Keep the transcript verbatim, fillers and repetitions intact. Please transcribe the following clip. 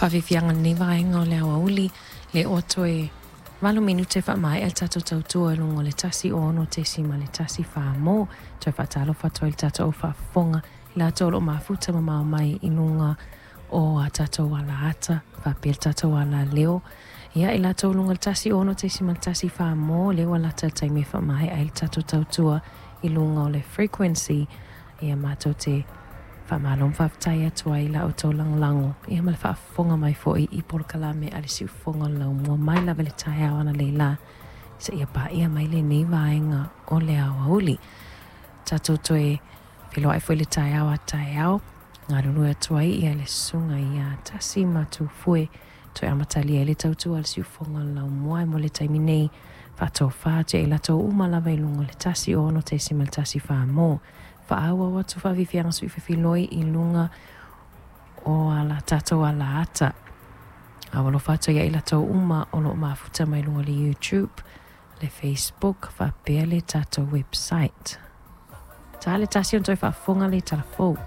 Faafiafiaga lenei vaega o le aoauli le ua toe valu minute faamaea le tatou tautua i luga o le tasi ono tesima le tasi fa mo. Toe faatalofa atu ai le tatou faafofoga i latou o loo mafuta mamao mai i luga o a tatou alaata faapea le tatou alaleo. Ia i latou luga le tasi ono tesima le tasi fa mo le ua lata le taimi e faamaea ai le tatou tautua i luga o le frequency. Ia matou te faamalo ma faafetai atu ai la outou lagolago ia ma le faafofoga mai foi i polokalame a le siufofoga o le laumua mai lava le taeao analeila seia paia mai lenei vaega o le aoauli. Tatou toe feiloai foi le taeao a taeao galulue atu ai ia le susuga ia Tasi ma Tufue toe amatalia ai le tautua a le siufofoga o le laumua mo le taimi nei faatofā atu i latou uma lava i luga o le tasi ono tesima le tasi fa mo. Faaauau atu faafiafiaga sui fefiloi i luga o ala tatou alaata. A ua alofa atu ia i latou uma o loo mafuta mai luga o le YouTube, le Facebook faapea le tatou website. Ta le tasi ona toe faafofoga le talafou.